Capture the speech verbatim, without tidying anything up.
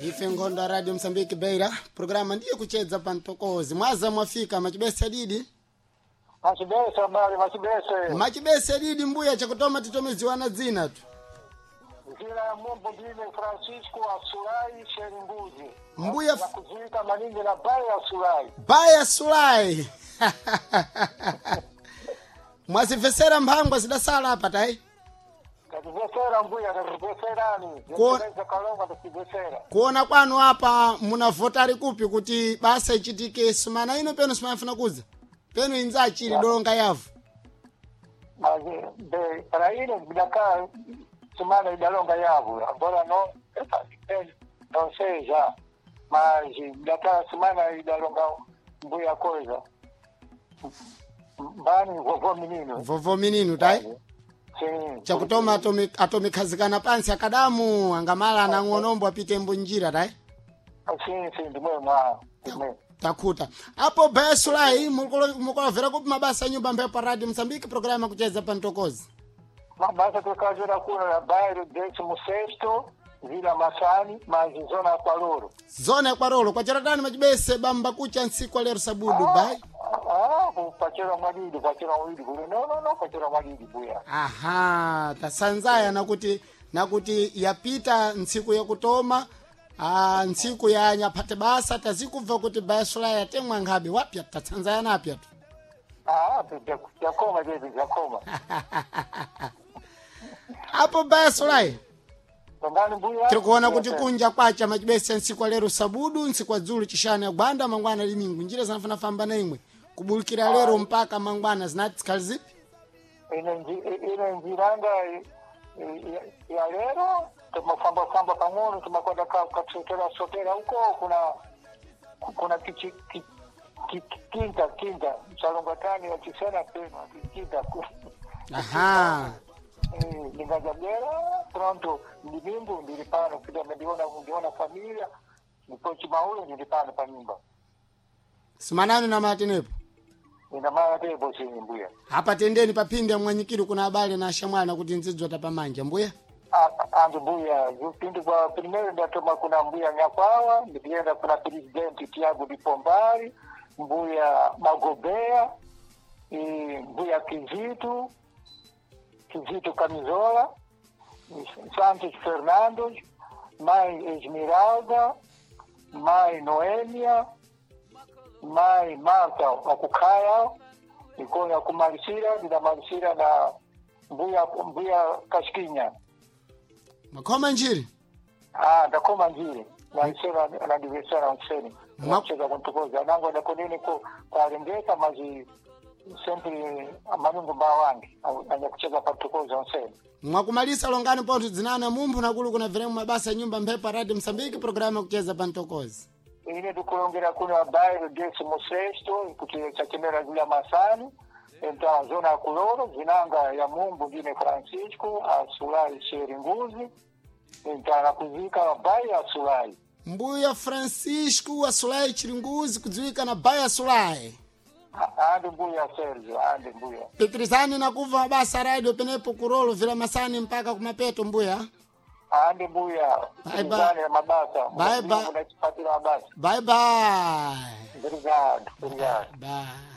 Ife nkhondo ya Radio Msambiki Beira, programa ndiye kuchedza pa mtokozi. Mwaza mwafika machibese didi. Machibese mbali machibese. Machibese didi mbuya chakutoma titomeziwana dzina tu. Zina ya Mumbu ndine Francisco Asulai Sherimbuzi. Mbuya Na kuziita maningi na Baya Asulai. Baya Sulai. Mwazimvesera mphangwa zidasala apa tayi. Tatibesera mbuya tatibeserani. Ko- Zendeza kalonga tatibesera. Kuona kwanu apa munavotari kupi kuti basa ichitike sumana ino penu simayafuna kudza. Penu inza achili dolonga yavu. Mazi be para ino bidaka sumana idalonga yavu. Agora no eh, não sei já. Mas bidaka sumana idalonga mbuya coisa. Mbani vovô menino. Vovo mininu tayi. Sim. Chakutoma atomi atomikhazikana pansi akadamu angamala anang'onombo apite mbunjira tayi. Sim, sim, ndimwe mwa. Ndimwe. Takhuta apo Baya Sulai mukulovera kupi mabasa nyumba mbepo pa Radio Msambiki programa kucheza pa mtokozi. Mabasa tukazira kuno na bairro décimo sexto, Vila Massani, mas zona ya Kwaloro. Zona ya Kwarolo kwa charatani machibese bamba kucha ntsiku lero sabudu bai. Ah, pachera mwadidi, pachera mwidi kule. No, no, no, pachera mwadidi buya. Aha, tasanzaya nakuti nakuti yapita ntsiku yakutoma ah, ntsiku ya nyaphate basa tazikubva kuti Baya Sulai yatemwa nkhabe wapya tatsanzaya napya tu. Ah, jakoma jebi, jakoma. Apo Baya Sulai Tongani mbuya. tiri kuona kuti kunja kwacha machibese ntsiku lero sabudu ntsiku dzulu chishanu ya gwanda mangwana limingu njira zinafuna famba na imwe kubulikira lero mpaka mangwana zinati zikhali zipi Ine nji- ine njiranga i- ya lero tumafamba famba pang'ono tumakwenda ka- kasotera sotera huko kuna kuna kichi ki- ki- kinta kinta msalongatani wachisena peno kinta aha ndingajabera pronto ndimingu ndili pano kuja ndiona ndiona familia ndipo chimaulo ndili pano pa nyumba simanani na matenepo ina mara tepo chini mbuya apa tendeni papinde mwanyikiri kuna abale na ashamwana kuti nzidzota pamanja mbuya A- andu mbuya pindi kwa primeiro ndatoma kuna mbuya nyakwawa ndikuenda kuna presidenti Tiago de Pombari mbuya Magobea e, mbuya Kizito Kizito Camisola Santos Fernandes mãe Esmeralda mãe Noêmia mãe Marta Wakukaya ikonya kumalisira ndinamalisira na mbuya mbuya Kashikinya makhoma njiri Ah, ndakoma njiri naisera nandivesera nseni Ma- nacheza kuntukoza nango ndakonene ko kwalengeka mazi sempre manungu mbawangi anya kucheza pantukoza nseni mwakumalisa longani pontho dzinana mumphu nakulu kuna viremu mabasa ya nyumba mphepo Radio Msambiki programa kucheza pa mtokozi ine ndikulongera kuno bairro décimo sexto kuti chachemera vila masani então zona ya kuloro zinanga ya mumbu ndine Francisco asulai sheringuzi então nakuzika bai asulai mbuya Francisco wa Sulai Chiringuzi kudziwika na Baya Sulai andi mbuya Sergio andi mbuya pitirizani nakuva mabasa radio penepo kurolo vila masani mpaka kumapeto mbuya andi mbuya Bye, bye. Sizane mabasa Bye, bye. munachipatira mabasa bye bye obrigado obrigado bye.